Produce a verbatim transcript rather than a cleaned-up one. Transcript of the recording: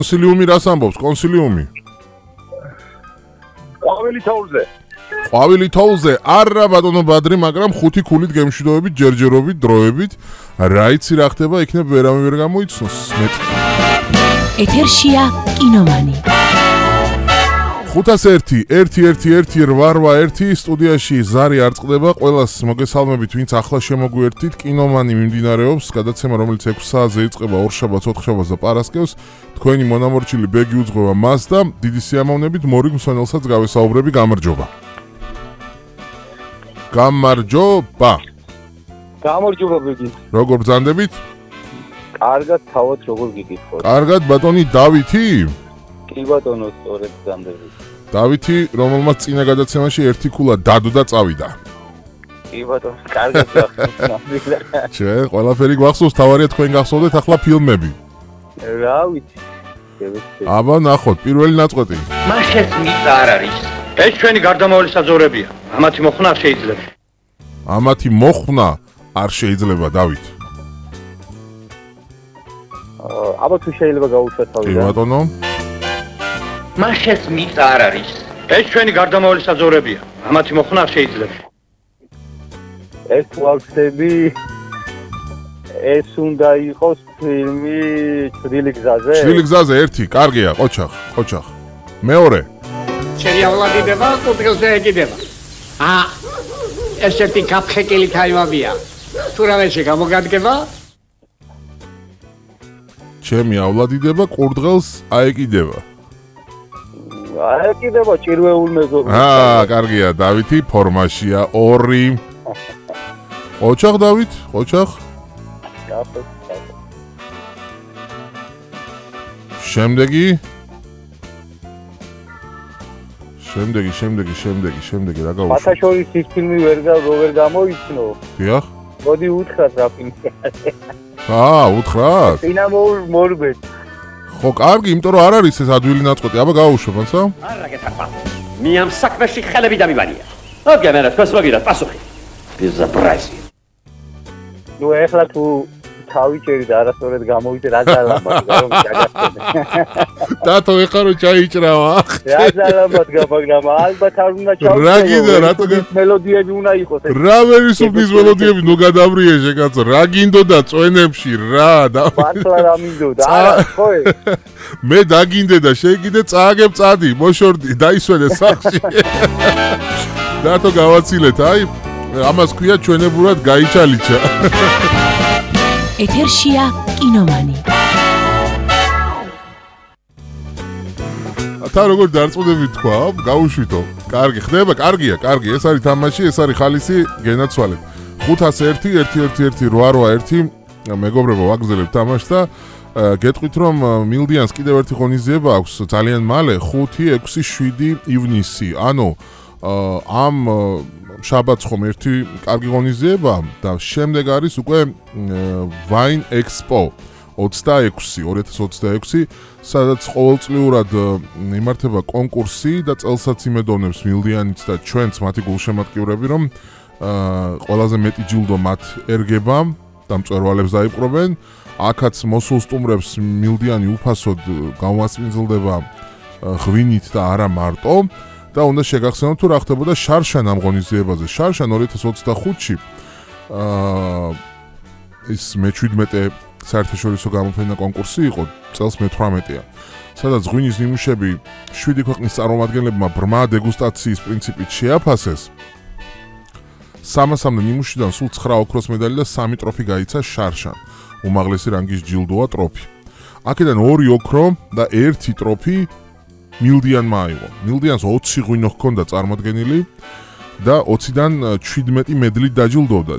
კონსილიუმი რას ამბობს? კონსილიუმი. ყვავილი თოვლზე. ყვავილი თოვლზე. არა ბატონო ბადრი, მაგრამ ხუთი ქულით გემშვიდობებით, ჯერჯერობით, დროებით. რა იცი რა ხდება, იქნებ ვერავინ ვერ გამოიცნოს. მეტ. ეთერშია კინომანი. ხუთას ერთი, ერთი, ერთი, ერთი, რვა, ერთი სტუდიაში ზარი არ წყდება, ყველას მოგესალმებით, ვინც ახლა შემოგვიერთდით, კინომანი მიმდინარეობს, გადაცემა რომელიც ექვსი საათზე იწყება ორშაბათს, ოთხშაბათს და პარასკევს, თქვენი მონამორჩილი ბეგი უძღვება მას და დიდი სიამოვნებით მორიგ მსვენელსაც გავესაუბრები, გამარჯობა. გამარჯობა. გამარჯობა ბეგი. როგორ ბრძანდებით? კარგად თავად როგორ გიგიხოთ? კარგად ბატონი დავითი? კი ბატონო, სწორედ ბრძანდებით. დავითი, რომელმაც წინა გადაცემაში ერთი ქულა დადო და წავიდა. კი ბატონო, კარგად გახსოვთ. ჩვენ ყველაფერი გვახსოვს, თავარია თქვენ გახსოვდეთ ახლა ფილმები. რა ვიცი. აბა ნახოთ, პირველი ნაწყვეტი. მაშეს მიწა არ არის. ეს ჩვენი გარდამავალი საძოვრებია. ამათი მოხნა არ შეიძლება. ამათი მოხნა არ შეიძლება, დავით. აბა თუ შეიძლება გაუშვათ კი თავიდან. ბატონო. მაშეს მიწა არ არის. ეს ჩვენი გარდამავალი საძოვრებია. ამათი მოხნა არ შეიძლება. ეს ვახსები ეს უნდა იყოს ფილმი ჭრილი გზაზე. ჭრილი გზაზე ერთი, კარგია, ყოჩახ, ყოჩახ. მეორე. ჩემი ავლადიდება, კუთხეზე ეკიდება. აა, ეს ერთი კაფხეკილი თაივაბია. თუ რამეში გამოგადგება? ჩემი ავლადიდება, კურდღელს აეკიდება. აეკიდება ჭირვეულ მეზობლად. აა, კარგია, დავითი ფორმაშია ორი. ყოჩახ დავით, ყოჩახ. შემდეგი შემდეგი, შემდეგი, შემდეგი, შემდეგი რა გავუშვი? ფათაშორის ის ფილმი ვერ ვერ გამოიცნო. დიახ. მოდი უთხრათ რა ფილმია. აა, უთხრათ? წინა მორბეთ. ხო, კარგი, იმიტომ რომ არ არის ეს ადვილი ნაწყვეტი. აბა გავუშვებ, ანსა? არა გეთახვა. მე ამ საქმეში ხელები დამიბანია. ოგე, მე რა თქვენს მოგიდათ პასუხი. ბიზაბრაზი. ნუ ეხლა თუ თავიჭერი და არასწორად გამოვიდე რა ძალამად რომ დაგასწრე. დათო ეხლა რომ ჩაიჭრავა. რა ძალამად გამაგრამ ალბათ არ უნდა ჩავჭრო. რა გინდა რატო მელოდიები უნდა იყოს ეს. რა ვერისუფლის მელოდიები ნუ გადავრიეჟე კაცო. რა გინდოდა წვენებში რა და მართლა რა მინდოდა? არა ხო ეს. მე დაგინდე და შეიგიდე წააგებ წადი, მოშორდი, დაისვენე სახში. დათო გავაცილეთ, აი ამას ქვია ჩვენებურად გაიჩალიჩა. ეთერშია კინომანი. თა როგორ დარწმუნდები თქვა, გაუშვითო. კარგი, ხდება, კარგია, კარგი, ეს არის თამაში, ეს არის ხალისი, გენაცვალეთ. ხუთას ერთი, ერთი, ერთი, ერთი, რვა, რვა, ერთი, მეგობრებო, ვაგზელებთ თამაშს და გეტყვით რომ მილდიანს კიდევ ერთი ღონისძიება აქვს ძალიან მალე, ხუთი, ექვსი, შვიდი ივნისი. ანუ ამ შაბათს ხომ ერთი კარგი ღონისძიება და შემდეგ არის უკვე Wine Expo ოცდაექვსი, ორი ათას ოცდაექვსი, სადაც ყოველწლიურად იმართება კონკურსი და წელსაც იმედოვნებს მილდიანიც და ჩვენც მათი გულშემატკივრები, რომ ყველაზე მეტი ჯილდო მათ ერგება და მწვერვალებს დაიპყრობენ. აქაც მოსულ სტუმრებს მილდიანი უფასოდ გამასპინძლდება ღვინით და არა მარტო. და უნდა შეგახსენოთ თუ რა ხდებოდა შარშან ამ ღონისძიებაზე. შარშან ორი ათას ოცდახუთში აა ის მეჩვიდმეტე საერთაშორისო გამოფენა კონკურსი იყო, წელს მეთვრამეტეა. სადაც ღვინის ნიმუშები შვიდი ქვეყნის წარმომადგენლებმა ბრმა დეგუსტაციის პრინციპით შეაფასეს. სამასამდე ნიმუშიდან სულ ცხრა ოქროს მედალი და სამი ტროფი გაიცა შარშან. უმაღლესი რანგის ჯილდოა ტროფი. აქედან ორი ოქრო და ერთი ტროფი მილდიანმა აიღო. მილდიანს ოცი ღვინო ჰქონდა წარმოდგენილი და ოციდან ჩვიდმეტი მედლით დაჯილდოვდა.